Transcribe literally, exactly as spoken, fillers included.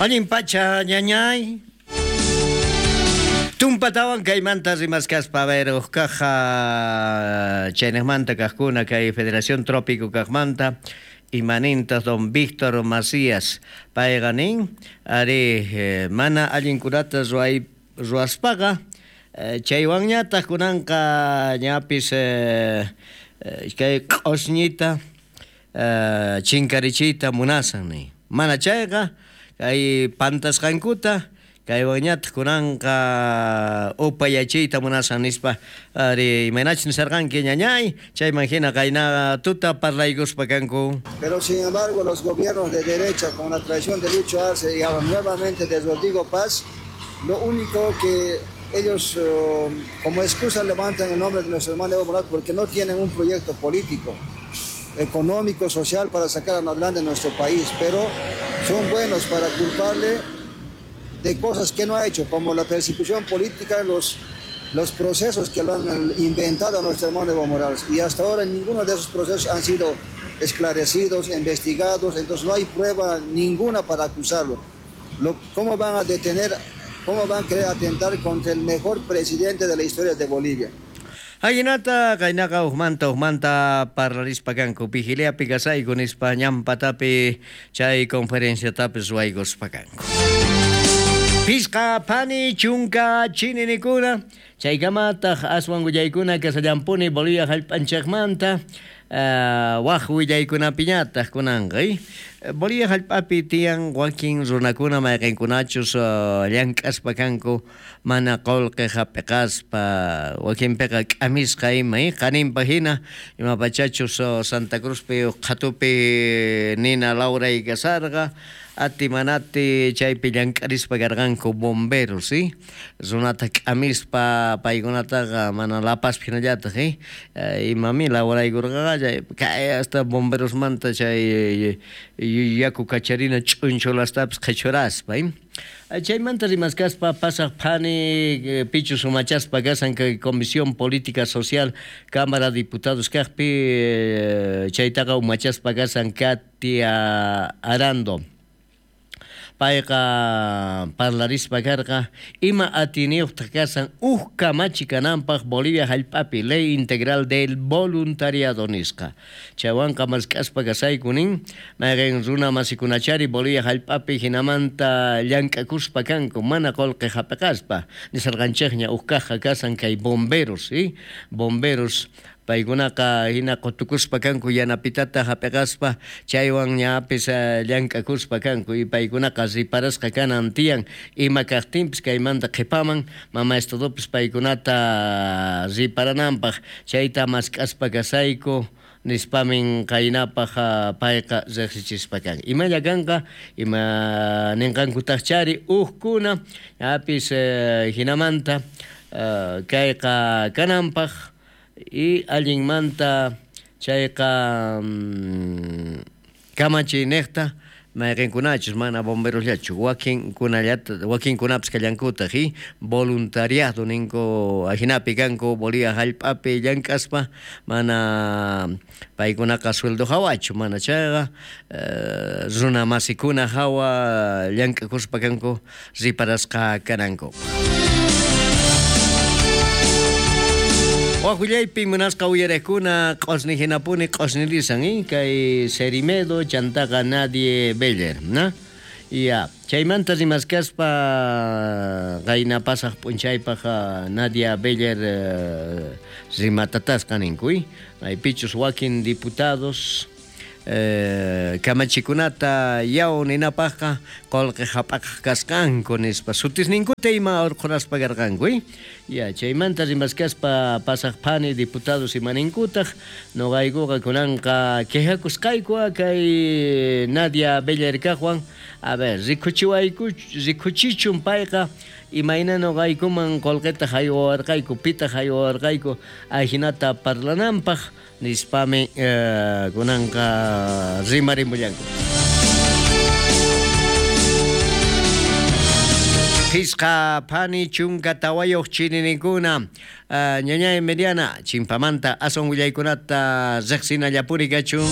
Allin pacha ñañay. Tumpatawan kaymanta rimaskaspa, a ver, uqkaqa chaynejmanta kajkuna kay Federación Trópico kajmanta imanintas don Víctor Macías payqa nin ari eh, mana allinkunata ruay ruaspaqa eh, chaywanñataq kunanqa ñapis eh, eh, kay q'osñita eh, chinkarichiyta munasan nin mana chayqa kay pantasqankuta kaywanñataq kunanqa upayachiyta munasan nispa ari imaynachus nisarqanki ñañay chayman hina qayna tuta parlaykuspa kanku. Pero sin embargo los gobiernos de derecha con la traición de Lucho Arce y ahora nuevamente de Rodrigo Paz, lo único que ellos uh, como excusa levantan el nombre de nuestro hermano Evo Morales porque no tienen un proyecto político, económico, social para sacar adelante nuestro país, pero son buenos para culparle de cosas que no ha hecho, como la persecución política, los, los procesos que lo han inventado a nuestro hermano Evo Morales. Y hasta ahora ninguno de esos procesos han sido esclarecidos, investigados, entonces no hay prueba ninguna para acusarlo. Lo, ¿Cómo van a detener, cómo van a querer atentar contra el mejor presidente de la historia de Bolivia? Ajinata qaynaqa ujmanta ujmanta parlarispa kanku vigiliapi kasayku nispa ñampatapi chay conferenciatapis ruwaykuspa kanku. Pisqa pani chunka chininikuna chaykamataq aswan willaykuna kasallampuni Bolivia hallp'anchikmanta uh, waj willaykunapiñataq kunanqa eh? Bolivia hallp'api tiyan wakin runakuna mayqinkunachus uh, llank'aspa kanku mana qullqi hap'iqaspa wakinpiqa k'amisqa ima eh? Qaninpa hina imapachachus uh, Santa Cruzpi qhatupi nina lawray kasarqa ati manati chaypi llank'arispa karqanku bomberos, ¿sí? Runata k'amispa paykunataqa mana lapaspi hinallataq, ¿eh? Imami lawraykurqaqa chay kay hasta bomberosmanta chay yaku kacharina ch'unchulastapis qhichuraspa, ¿eh? Chaymanta rimaskaspa pasaq phani pichus umachaspa kasan kay Comisión Política Social Cámara Diputados kaqpi chaytaqa umachaspa kasan Katia Arando. Payqa parlarispa karqa ima atiniyuqtaq kasan uj kamachi kananpaq Bolivia hallp'api Ley Integral del Voluntariado nisqa. Chaywanqa mask'aspa kasayku nin mayqin runa masikunachari Bolivia hallp'api hinamanta llank'akuspa kanku mana qullqi hap'iqaspa nisarqanchikña uj kaqqa kasan kay bomberos, ¿sí? Bomberos paykunaqa hina qutukuspa kanku yanapitata hap'iqaspa chaywan ñapis llank'akuspa kanku y paykunaqa riparasqa kanan tiyan ima kaqtinpis kaymanta qhipaman mama estadopis paykunata riparananpaq chayta mask'aspa kasayku nispamin qaynapaq payqa riqsichispa kan imalla kanqa ima ninqankutaqchari ujkuna ñapis hinamanta kayqa kananpaq y allinmanta chayqa mm, kamachiynejta mayqinkunachus mana bomberosllachu wakinkunallata wakinkunapis kallankutaq y voluntariado ninku ajinapi kanku Bolivia hallp'api llank'aspa mana paykunaqa sueldo hawachu mana chayqa eh, runa masikuna hawa llank'akuspa kanku riparasqa kananku. Wajullaypi munasqa uyariqkuna q'osni hinapuni q'osnilisan, eh? Kay Cerimedo chantaqa Nadie Beller, ¿no? Ya, chaymanta rimaskaspa qayna pasaq p'unchaypaq Nadia Beller eh, rimatatasqa ninku, eh? Maypichus wakin diputados eh, kamachikunata yaw ninapaqqa qullqi hap'aqaq kasqanku nispa sutisninkuta ima urqhuraspa karqanku, eh? Ya, chaymanta rimaskaspa pasaq phani diputados imaninkutaq nuqaykuqa kunanqa quejakusqayku kay Nadia Beller kaqwan a ver rikuchiwayku rikuchichun payqa imayna nuqaykuman qullqita haywawarqayku pitaq haywawarqayku ajinata parlananpaq nispami eh, kunanqa rimarimullanku. Pisqa phani chunka tawayuq chininikuna uh, ñañay Mediana chimpamanta aswan willaykunata riqsinallapuri kachun.